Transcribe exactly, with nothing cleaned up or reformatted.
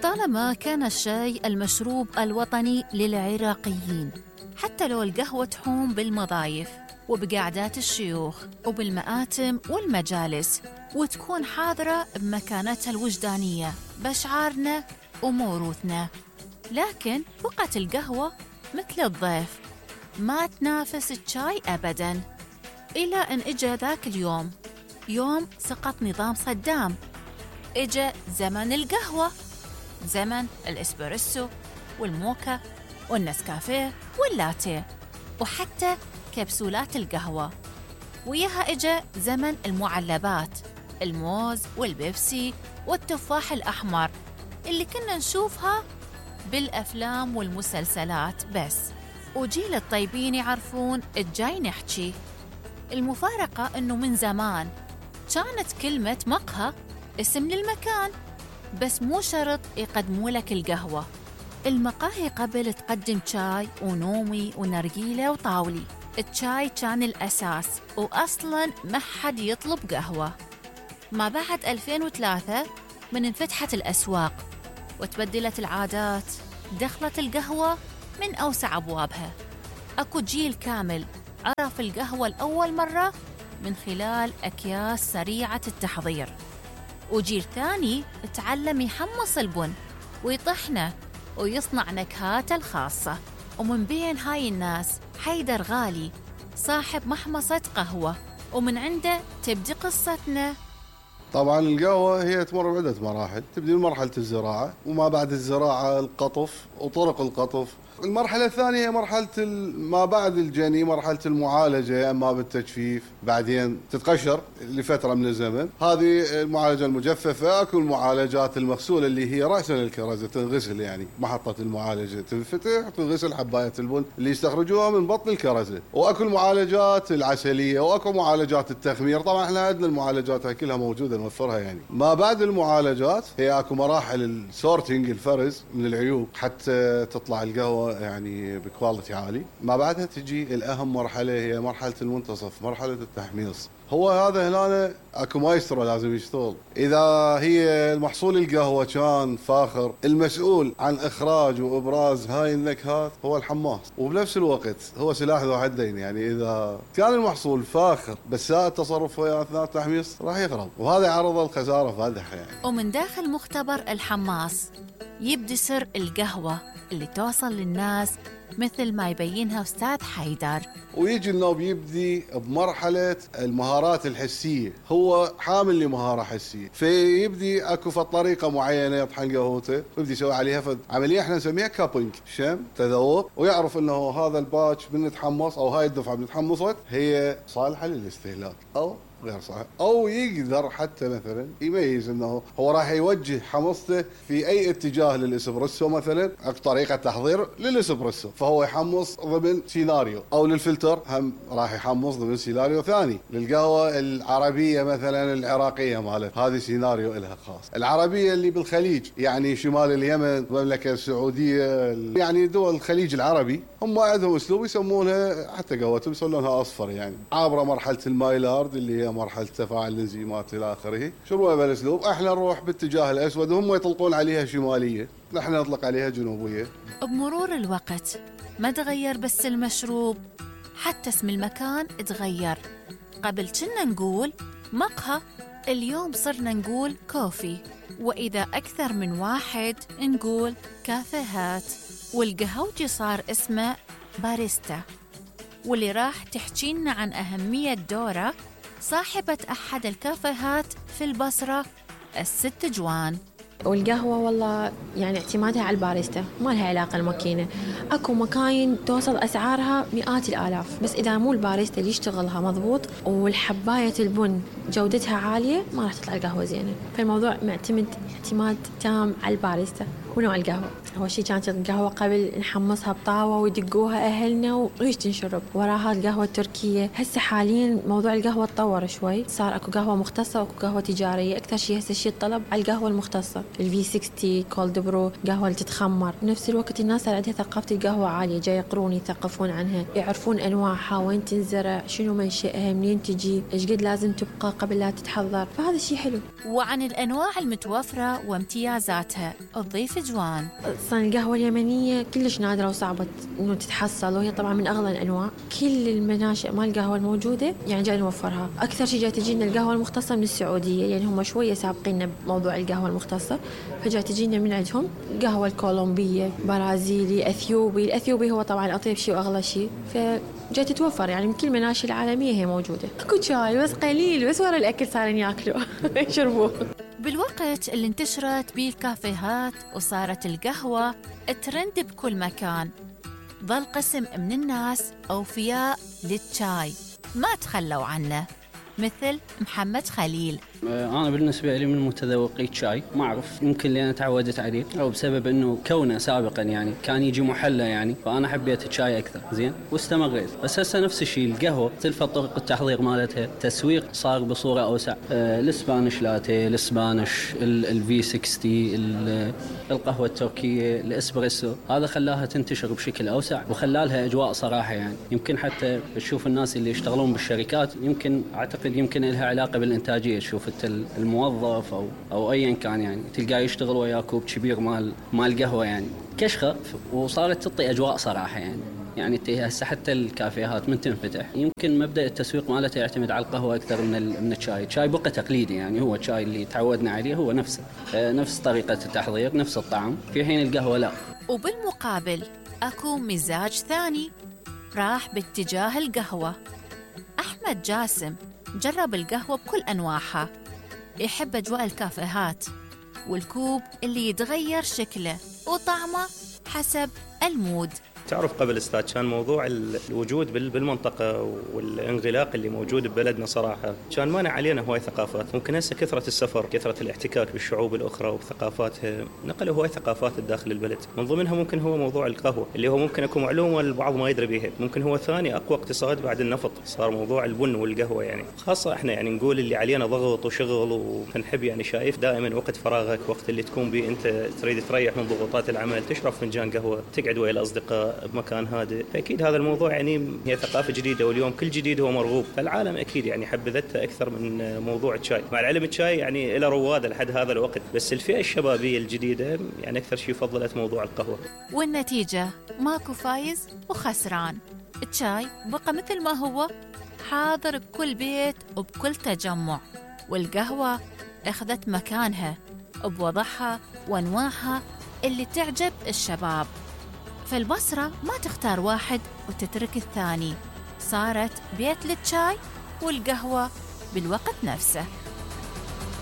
لطالما كان الشاي المشروب الوطني للعراقيين، حتى لو القهوة تحوم بالمضايف وبقعدات الشيوخ وبالمآتم والمجالس، وتكون حاضرة بمكانتها الوجدانية بأشعارنا وموروثنا. لكن بقت القهوة مثل الضيف، ما تنافس الشاي أبداً، إلى أن إجا ذاك اليوم، يوم سقط نظام صدام. إجا زمن القهوة، زمن الإسبريسو والموكا والنسكافيه واللاتيه وحتى كبسولات القهوة. وياها إجا زمن المعلبات، الموز والبيبسي والتفاح الأحمر اللي كنا نشوفها بالأفلام والمسلسلات بس، وجيل الطيبين يعرفون الجاي نحكي. المفارقة أنه من زمان كانت كلمة مقهى اسم للمكان، بس مو شرط يقدموا لك القهوة. المقاهي قبل تقدم شاي ونومي ونرجيلة وطاولي، الشاي كان الأساس، وأصلاً ما حد يطلب قهوة. ما بعد ألفين وثلاثة من انفتحت الأسواق وتبدلت العادات، دخلت القهوة من أوسع أبوابها. أكو جيل كامل عرف القهوة لأول مرة من خلال أكياس سريعة التحضير، وجيل ثاني تعلم يحمص البن ويطحنه ويصنع نكهاته الخاصة. ومن بين هاي الناس حيدر غالي صاحب محمصة قهوة، ومن عنده تبدي قصتنا. طبعا القهوة هي تمر بعدة مراحل، تبدي بمرحلة الزراعة، وما بعد الزراعة القطف وطرق القطف. المرحلة الثانية هي مرحلة ما بعد الجني، مرحلة المعالجة، أما بالتجفيف، بعدين تتقشر لفترة من الزمن. هذه المعالجة المجففة. أكو المعالجات المغسولة اللي هي رأسا الكرزة، تنغسل يعني محطة المعالجة تنفتح تنغسل حباية البن اللي يستخرجوها من بطن الكرزة. وأكو المعالجات العسلية، وأكو معالجات التخمير. طبعا احنا عندنا المعالجات هاي كلها موجودة نوفرها يعني. ما بعد المعالجات هي أكو مراحل السورتينج، الفرز من العيوب حتى تطلع القهوة يعني بكواليتي عالي. ما بعدها تجي الأهم مرحلة، هي مرحلة المنتصف، مرحلة التحميص. هو هذا هنا اكو مايسترو لازم يشتغل. اذا هي المحصول القهوة كان فاخر، المسؤول عن اخراج وابراز هاي النكهات هو الحماص، وبنفس الوقت هو سلاح ذو حدين. يعني اذا كان المحصول فاخر بس ساء التصرف ويا اثناء التحميص راح يخرب، وهذا عرض الخسارة فادحة يعني. ومن داخل مختبر الحماص يبدي سر القهوة اللي توصل للناس مثل ما يبينها أستاذ حيدر. ويجي النوب يبدي بمرحلة المهارات الحسية، هو حامل لمهارة حسية، فيبدي اكو فد طريقة معينة يطحن قهوته، ويبدي يسوي عليها فد عملية احنا نسميها كابينج، شم تذوق، ويعرف انه هذا الباتش بنتحمص او هاي الدفعة بنتحمصت هي صالحة للاستهلاك او غير صحيح، او يقدر حتى مثلا يميز انه هو راح يوجه حمصته في اي اتجاه للاسبريسو، مثلا اكو طريقه تحضير للاسبريسو فهو يحمص ضمن سيناريو، او للفلتر هم راح يحمص ضمن سيناريو ثاني. للقهوه العربيه مثلا العراقيه مالت هذه سيناريو لها خاص. العربيه اللي بالخليج يعني شمال اليمن، المملكه السعوديه، يعني دول الخليج العربي، هم عندهم اسلوب يسمونها حتى قهوتهم يسمونها اصفر، يعني عابره مرحله المايلارد اللي هي مرحله تفاعل الانزيمات الى اخره. شروها بالاسلوب، احنا نروح باتجاه الاسود وهم يطلقون عليها شماليه، نحن نطلق عليها جنوبيه. بمرور الوقت ما تغير بس المشروب، حتى اسم المكان تغير. قبل كنا نقول مقهى، اليوم صرنا نقول كوفي، واذا اكثر من واحد نقول كافيهات. والقهوجي صار اسمه باريستا. واللي راح تحكينا عن أهمية دوره صاحبة أحد الكافيهات في البصرة، الست جوان. والقهوة والله يعني اعتمادها على الباريستا، ما لها علاقة الماكينة. أكو مكاين توصل أسعارها مئات الآلاف، بس إذا مو الباريستا اللي يشتغلها مضبوط والحباية البن جودتها عالية ما راح تطلع القهوة زينة. فالموضوع معتمد اعتماد تام على الباريستا ونوع القهوة. أول شيء كانت القهوة قبل نحمصها بطاوة ويدقوها أهلنا وإيش تنشرب، وراها القهوة التركية. هسه حاليا موضوع القهوة تطور شوي، صار أكو قهوة مختصة وأكو قهوة تجارية. أكثر شيء هسه الشيء الطلب على القهوة المختصة، الفي ستين كولد برو، قهوة اللي تتخمر. بنفس الوقت الناس صار عندها ثقافة القهوة عالية، جاي يقرون يثقفون عنها، يعرفون أنواعها، وين تنزرع، شنو منشأها، منين تجي، إيش قد لازم تبقى قبل لا تتحضر. فهذا شيء حلو. وعن الأنواع المتوفرة وامتيازاتها تضيف الفجوان. أصلاً القهوة اليمنية كلش نادرة وصعبة إنه تتحصل، وهي طبعاً من أغلى الأنواع. كل المناشئ مال القهوة الموجودة يعني جاي نوفرها. أكثر شيء جاي تجينا القهوة المختصة من السعودية، يعني هم شوية سابقين بموضوع القهوة المختصة، فجاي تجينا من عندهم. قهوة الكولومبية، برازيلي، أثيوبي. الأثيوبي هو طبعاً أطيب شيء وأغلى شيء، فجاي تتوفر يعني من كل المناشئ العالمية هي موجودة. أكو شاي بس قليل، بس ورا الأكل صارين يأكلوا يشربوه. بالوقت اللي انتشرت بيه الكافيهات وصارت القهوة ترند بكل مكان، ظل قسم من الناس أوفياء للشاي ما تخلوا عنه، مثل محمد خليل. أنا بالنسبة لي من متذوقي شاي، ما أعرف يمكن لأن تعودت عليه أو بسبب إنه كونه سابقا يعني كان يجي محلى يعني، فأنا حبيت الشاي أكثر زين واستمريت. بس هسه نفس الشيء القهوة تلفت طرق التحضير مالتها، تسويق صار بصورة أوسع. آه الإسبانيش لاتيه، الإسبانيش، الفي ستين، القهوة التركية، الإسبريسو، هذا خلاها تنتشر بشكل أوسع وخلالها أجواء صراحة يعني. يمكن حتى تشوف الناس اللي يشتغلون بالشركات، يمكن أعتقد يمكن لها علاقة بالإنتاجية. تشوف الموظف أو أو أيا كان يعني تلقاه يشتغل ويا كوب كبير مال مال قهوة يعني كشخة، وصارت تعطي أجواء صراحة يعني. يعني هسه حتى الكافيهات من تنفتح يمكن مبدأ التسويق مالته يعتمد على القهوة أكثر من من الشاي. الشاي بقى تقليدي يعني، هو الشاي اللي تعودنا عليه هو نفسه، نفس طريقة التحضير، نفس الطعم، في حين القهوة لا. وبالمقابل أكو مزاج ثاني راح باتجاه القهوة. أحمد جاسم جرب القهوة بكل أنواعها، يحب أجواء الكافيهات والكوب اللي يتغير شكله وطعمه حسب المود. تعرف قبل استاذ كان موضوع الوجود بالمنطقه والانغلاق اللي موجود ببلدنا صراحه كان مانع علينا هواي ثقافات. ممكن هسه كثره السفر، كثره الاحتكاك بالشعوب الاخرى وثقافاتها، نقلوا هواي ثقافات داخل البلد. من ضمنها ممكن هو موضوع القهوه اللي هو ممكن اكو معلومه البعض ما يدري بها. ممكن هو ثاني اقوى اقتصاد بعد النفط، صار موضوع البن والقهوه يعني. خاصه احنا يعني نقول اللي علينا ضغط وشغل، ونحب يعني شايف دائما وقت فراغك، وقت اللي تكون به انت تريد تريح من ضغوطات العمل، تشرب فنجان قهوه، تقعد ويا الاصدقاء بمكان هادئ. فأكيد هذا الموضوع يعني هي ثقافة جديدة، واليوم كل جديد هو مرغوب، فالعالم أكيد يعني حبذته أكثر من موضوع الشاي. مع العلم الشاي يعني إلى روادة لحد هذا الوقت، بس الفئة الشبابية الجديدة يعني أكثر شيء فضلت موضوع القهوة. والنتيجة ماكو فايز وخسران. الشاي بقى مثل ما هو حاضر بكل بيت وبكل تجمع، والقهوة أخذت مكانها بوضعها وأنواعها اللي تعجب الشباب. فالبصرة ما تختار واحد وتترك الثاني، صارت بيت للشاي والقهوة بالوقت نفسه.